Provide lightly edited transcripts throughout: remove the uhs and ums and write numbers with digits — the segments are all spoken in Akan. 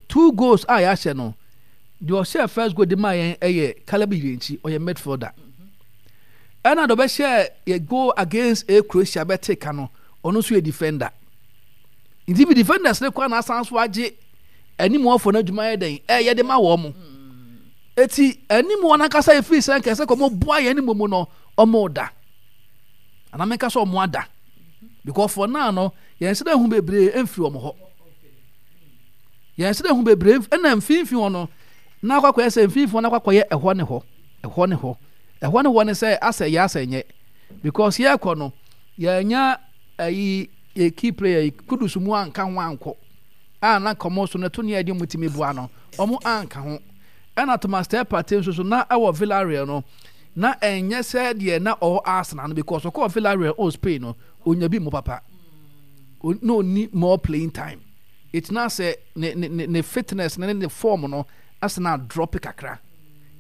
Two goals a yɛahyɛ no, deɛ ɔhyɛɛ first goal de maa yɛn yɛ Caleb Yirenkyi, ɔyɛ midfielder. Ɛna deɛ ɔbɛhyɛɛ yɛ goal against a Croatia bɛte ka no, ɔno nso yɛ defender. Nti bi defenders ne kɔ na asan so agye anim wɔfo no adwuma yɛ dɛn ɛyɛ de ma wɔn mo. Eti anim wɔn ankasa efiri sɛ nkɛsɛ kɔ mo boa yɛn ne mu no wɔn da. Anaa menka sɛ wɔn ada. Because for now no yɛn sɛ ehu bebree mfiri wɔn hɔ. Yɛn sɛ ehu bebree ɛna mfimfini hɔ no na akɔkɔyɛ sɛ mfimfini hɔ na akɔkɔyɛ ɛhɔ ne hɔ ɛhɔ ne hɔ ɛhɔ ne hɔ ne sɛ asɛ yɛ asɛ nyɛ because yɛkɔ no yɛnya ayi yɛ key player yi Kudus mu anka ho ankɔ a na nka wɔn so no ɛto ne ɛde wɔn tumi boa no wɔn anka ho ɛna Thomas Partey nso so na ɛwɔ Villarreal no na ɛnyɛ sɛ deɛ na ɔwɔ Arsenal no because ɔkɔɔ Villarreal ɔwɔ Spain no onya bi mu papa na ɔni more playing time ɛti na sɛ ne ne ne fitness ne ne form no asɛ na drop kakra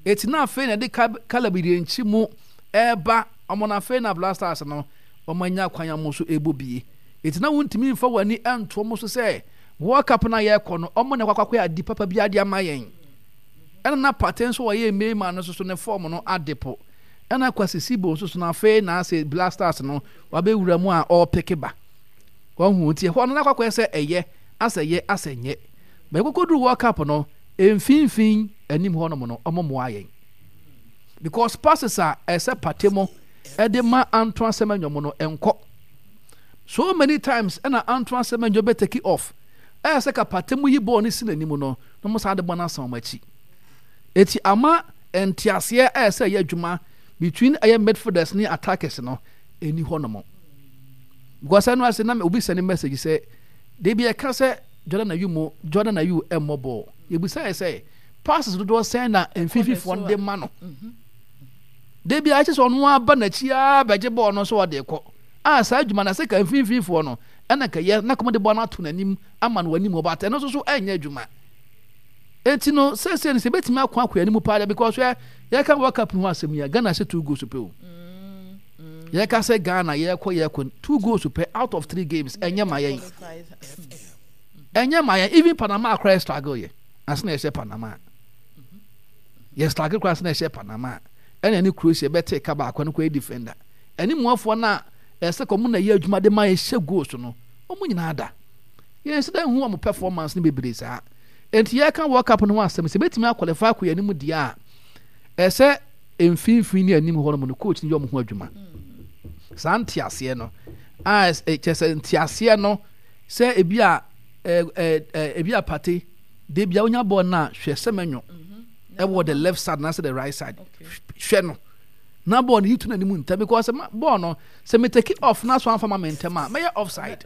ɛti na afei na ɛde Caleb Yirenkyi mu ɛreba ɔmo na afei na Black Stars no wɔn anya kwan a wɔn nso rebɔ bie. Enti na wontumi mfa wɔn ani nto wɔn so sɛ World Cup no a yɛrekɔ no, wɔn na ɛkɔ akɔyɛ ade papa bi ade ama yɛn. Ɛna na Partey nso ɔyɛ Neymar no nso so ne fɔɔm no ade po. Ɛna Kwasi Sibo nso so no afei na ase Black Stars no wabɛwura mu a ɔrepeke ba. Wahu nti ɛhɔ no na akɔakɔyɛ sɛ ɛyɛ asɛ yɛ asɛ nyɛ. Bɛn kɔkɔduru World Cup no mfimfini anim hɔnom no wɔn mmoa yɛn. Because passes a ɛsɛ Partey mo ɛde ma Antoine Semenyo mo no ɛnkɔ. So many times ɛna Antoine Semenyo bɛ take off. Ɛyɛ sɛ ka Partey mo yi bɔɔl no si n'anim no na mo san de bɔ no asan wɔn akyi. Eti ama nteaseɛ ɛyɛ sɛ ɛyɛ adwuma between ɛyɛ midfielders ne attackers no ɛni hɔ nom. Because ɛno ase na obi send message sɛ de bi ɛka sɛ Jordan Ayew mo Jordan Ayew ɛmmɔ bɔɔl. Yɛbisa yɛ sɛ passes dodoɔ sɛn na mfimfinifoɔ no de ma no. Da bi a ɛkyɛ sɛ ɔno aba n'akyi ara bɛgye bɔɔl no so ɔde kɔ. A saa adwuma no sɛ ka mfimfinifoɔ no ɛna ka yɛ na kɔm de bɔɔl no ato n'anim ama no anim ɔba ɛno nso so ɛnyɛ adwuma. Enti no sɛsɛ no sɛ ebɛtumi akɔ akɔ anim paa because hwɛ yɛka World Cup ho asɛm yi a Ghana hyɛ two goals pɛ o. Yɛka sɛ Ghana yɛkɔ yɛkɔ two goals pɛ out of three games ɛnyɛ ma yɛn. Ɛnyɛ ma yɛn even Panama akora yɛ struggle yɛ ase na yɛhyɛ Panama. Yɛ struggle koraa sɛ na ɛhyɛ Panama ɛna ɛne Croatia bɛte ka baako no kɔyɛ defender ɛne muafoɔ no a ɛsɛ kɔ mo na ɛyɛ adwuma de ma yɛhyɛ goals no wɔn nyinaa da yɛn sɛ dɛ hu wɔn performance no bebree saa nti yɛka World Cup no ho asɛm sɛ bɛtumi akɔlɛfa akɔ yɛn anim deɛ a ɛsɛ mfimfini ne anim hɔ nom no coach no yɛ wɔn ho adwuma saa nteaseɛ no a kyɛ sɛ nteaseɛ no sɛ ebi a ebi a pate De bia wonya bɔɔl no a hwɛ Semenyo ɛwɔ the left side na the right side hwɛ no na bɔɔl no yi to n'anim ntɛm because bɔɔl no sɛ me take off na so anfa ma me ntɛm a mɛyɛ offside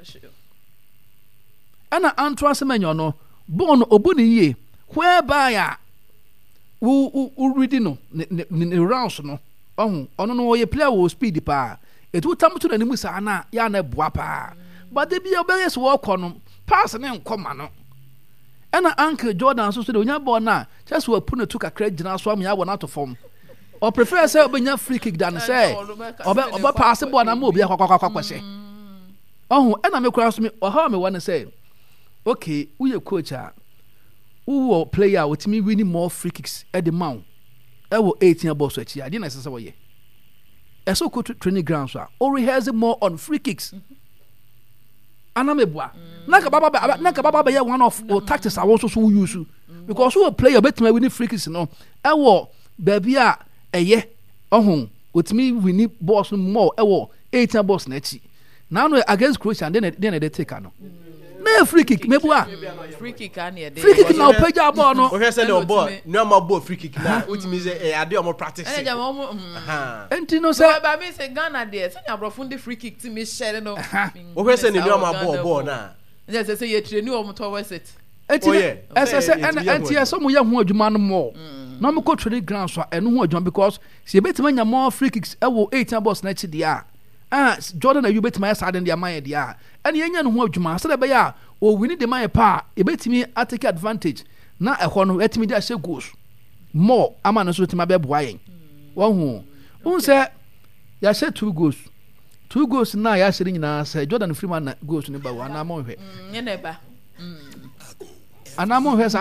ɛna Antoine Semenyo no bɔɔl no obu ne yie whereby a wo wo wo ready no ne ne ne rounds no ɔho ɔno no ɔyɛ player wɔ speed paa etu tam to n'anim saa na yɛ ana ɛboa paa but de bia ɔbɛyɛ sɛ wɔkɔ no pass ne nkɔ ma no. Ɛna uncle Jordan nso so de onya bɔɔl no a kyerɛ sɛ wapu ne to kakra gyina so ama yɛabɔ no ato fam. Ɔprefer sɛ ɔbɛnya free kick than sɛ ɔbɛ ɔbɛ paase bɔɔl no ama obi akɔkɔakɔhyɛ. Ɔho ɛna me koraa nso me ɔhaw a mewɔ ne sɛ okay woyɛ coach a wowɔ player a otumi winning more free kicks ɛde ma wo ɛwɔ 18 bɔɔl so akyi a deɛ na ɛsɛ sɛ wɔyɛ ɛsɛ wokɔ training ground so a o rehearse more on free kicks. Mm -hmm. Ana meboa? Na nka baba na nka baba bɛyɛ one of o tactics a wɔn nso so wo use because wɔ player obetumi awini free kicks no ɛwɔ baabi a ɛyɛ ɔho otumi wini balls no more ɛwɔ 18 balls n'akyi na ano against Croatia de na de na ɛde take ano na yɛ free kick meboa free kick na yɛ free kick na ɔpɛgya bɔɔl no wohwɛ sɛ deɛ ɔbɔ nneɛma bɔ free kick na wotumi sɛ ɛyɛ adeɛ ɔmo practice ɛna gyama ɔmo nti no sɛ ba mi sɛ Ghana deɛ sɛnea aborɔfo de free kick ti mi hyɛ no wohwɛ sɛ ne nneɛma bɔɔ bɔɔl no a ɛna sɛ sɛ yɛ train wɔn towards it nti ɛsɛ sɛ ɛna ɛnti ɛsɛ ɔmo yɛ ho adwuma no more na ɔmo kɔ training ground so a ɛno ho adwuma because sɛ yɛbɛtumi anya more free kicks ɛwɔ 18 box n'akyi deɛ a a Jordan Ayew bɛtumi ayɛ saa de de ama yɛ deɛ a ɛna yɛnya ne ho adwuma sɛdeɛ ɛbɛyɛ a ɔwini de ma yɛ paa a yɛbɛtumi atake advantage na ɛhɔ no yɛatumi de ahyɛ goals more ama no nso tumi abɛboa yɛn wɔn ho wohu sɛ yɛahyɛ two goals two goals na yɛahyɛ no nyinaa sɛ Jordan firi mu ana goals no ba o anaa monhwɛ anaa monhwɛ saa.